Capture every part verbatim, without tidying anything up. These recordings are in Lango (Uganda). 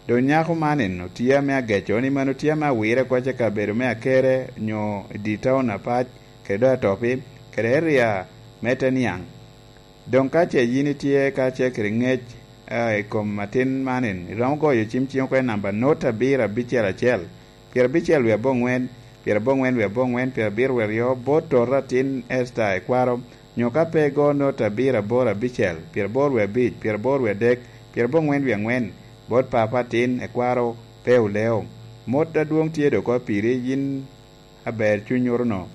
Doŋ nyako man otye ame ageco ni mano tye ame awire koc i kabedo me Akere nyo i dye taun apac, kede doŋ Atopi, kede eria me te niaŋ. Doŋ ka ce yin itye ka ce kede ŋec, a, i kom atin man, iromo goyo cim ciŋ oko i namba not abiro abicel acel, pyerabicel wie aboŋwen, pyeraboŋwen wie aboŋwen, pyerabiro wie aryo, bot tota atin Esta Ekwaro, nyo ka pe igo not abiro aboro abicel, pyeraboro wie abic, pyeraboro wie adek, pyeraboŋwen wie aŋwen, bot papa atin Ekwaro pe oleo. Mot adwoŋ tye doŋ oko piri yin aber cuny oro-nu.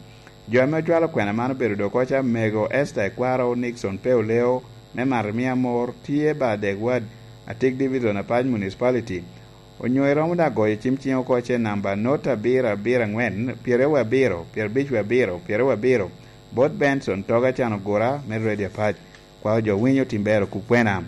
Jo ame ocwalo kwena man obedo doŋ oko ca Mego Esta Ekwaro, Nixon pe oleo, me Marimia Amor, tye ba Adek Ward, Atik Division, Apac Municipality. Onyo iromo daŋ goyo cim ciŋ oko ce namba not abiro abiro aŋwen, pyeraryo wie abiro, pyerabic wie abiro, pyeraryo wie abiro, bot Benson Toga Can Ogura me Radio Apac. Kwao jo winyo tim bero kukwena.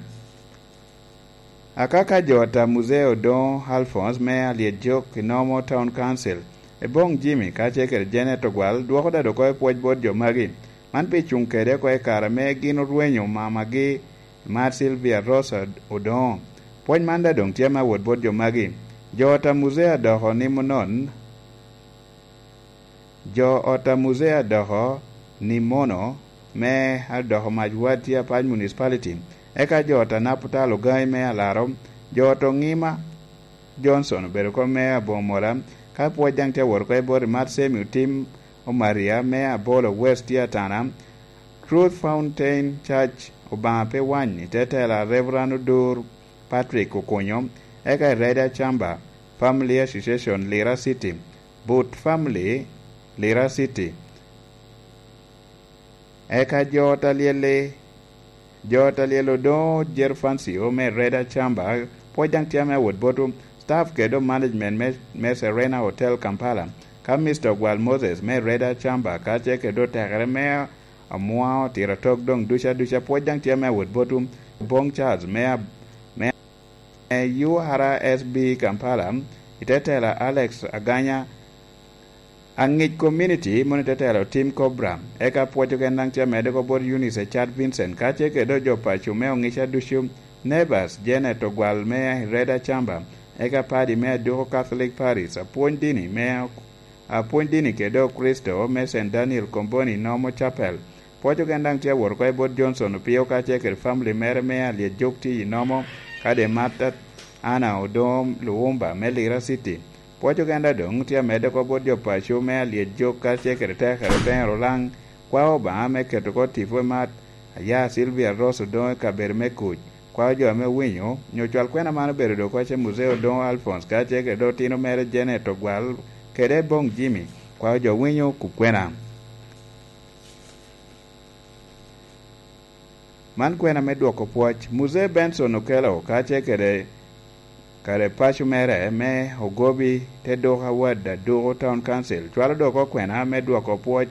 Akaka jo ata Muzee Odoŋo Alphonse me Alyet Jok i Nomo Town Council, Eboŋ Jimmy kacel kede Janet Ogwal dwoko dado oko i pwoc bot jo magi. Man pi cuŋ kede oko i kare ame gin orwenyo mamagi, Mar Sylvia Rosa Odoŋo. Pwoc man daŋ doŋ tye me awot bot jo magi. Jo ata Muzee adoko nimo non, jo ot a Muzee adoko ni mono me adoko mac wad tye Apac Municipality, eka jo ot a Naputal Ogaŋi me Alaro, jo ot Oŋima Johnson obedo oko me Aboŋo Mola, ka pwoc daŋ tye awot oko i bot Imat Semi Otim Omaria me Abolo West tye Atana, Truth Fountain Church Obaŋa pe wany i te tela Reverend Odur Patrick Okunyo, eka i Red Achamba Family Association Lira City, But Family Lira City. Eka jo ot a Lyel-li, jo ot a Lyel-li Odoŋo Jerfancio me Red Achamba, pwoc daŋ tye ame awot botwu, staff kede management me, me Serena Hotel Kampala, ka Mister Ogwal Moses me Red Achamba, kacel kede otekere me Amua Otiro Atok doŋ duca duca, pwoc daŋ tye ame awot botwu, Oboŋ Charles me, me U R S B Kampala, i te tela Alex Aganya, aŋic community moni te telo Tim Cobra, eka pwoc ogen daŋ tye amedde oko bot Eunice Ecad Vincent, kacel kede jo paco me oŋica ducu, Nevas Janet Ogwal me Red Achamba, eka padi me Aduko Catholic Parish, apwony dini me, apwony dini kede Okricito me Saint Daniel Komboni Nomo Chapel. Pwoc ogen daŋ tye awot oko i bot Johnson Opio kacel kede family mere me Alyet Jok tye i Nomo, kadi Martha Anna Odoŋo Luwumba me Lira City. Pwoc ogen daŋ doŋ tye amedde oko bot jo paco me Alyet Jok kacel kede tekere Oteŋe Rulaŋ, kwao Obaŋa me keto oko tipo i mat, aya Sylvia Ross Odoŋo i kabedo me kuc, kwao jo ame owinyo, nyo cwal kwena man obedo doŋ oko ce Muzee Odoŋo Alphonse kacel kede otino mere Janet Ogwal kede Boŋ Jimmy, kwao jo winyo kukwena. Man kwena me dwoko pwoc. Muzee Benson Okello kacel kede, kede paco mere me Ogobi te doko award Aduko Town Council cwalo dok oko kwena me dwoko pwoc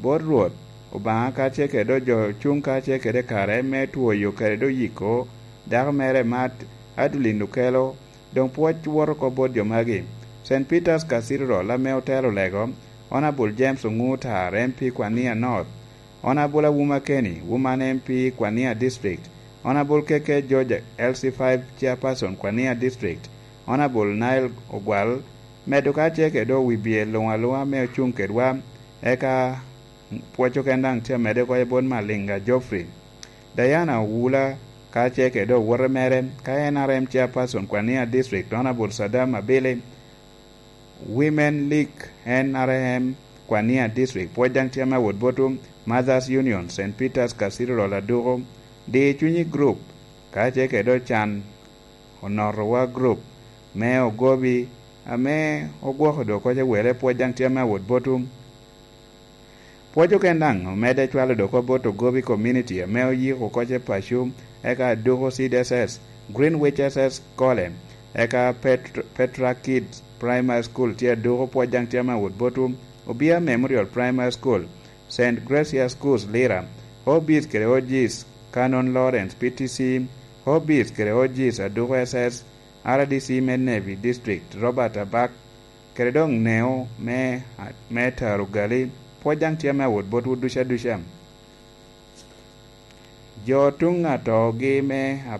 bot Rwot Obaŋa kacel kede do jo cuŋ kacel kede kare me twoyo kede do yiko dako mere Mat Adeline Okello, doŋ pwoc woto oko bot jo magi. Saint Peter's Cathedral ame otelo lego, Honourable James Onguta, M P Kwania North, Honourable Awuma Kenny, Woman M P Kwania District, Honourable K K George, L C five Chairperson Kwania District, Honourable Nile Ogwal, medo kacel kede wi bye luŋ aluŋa me ocuŋ kedwa, eka pwoc oken daŋ tye amedde oko i bot Malinga Geoffrey. Diana Owula kacel kede owote mere, ka N R M Chairperson Kwania District, Honourable Saddam Abili, Women League N R M Kwania District, pwoc daŋ tye ame awot botwu, Mothers Union, Saint Peter's Cathedral Aduko, Di Cunyi Group, kacel kede Ocan Onotowa Group me Ogobi, ame ogwoko dok oko ce wele, pwoc daŋ tye ame awot botwu. Pwoc oken daŋ omedde cwalo dok oko bot Ogobi Community ame oyiko oko ce paco, eka Aduko Seed S S, Greenwich S S Kole, eka Pet-, Petra Kids Primary School tye Aduko, pwoc daŋ tye ame awot botwu, Obia Memorial Primary School, Saint Gracious Schools Lira, Hobbies kede O Gs Canon Lawrence P T C, Hobbies kede O Gs Aduko S S, R D C me Navy District Robert Abak, kede doŋ Neo me, me Taro Gali, pwoc daŋ tye ame awot botwu duca duca. Jo tuŋ atogi me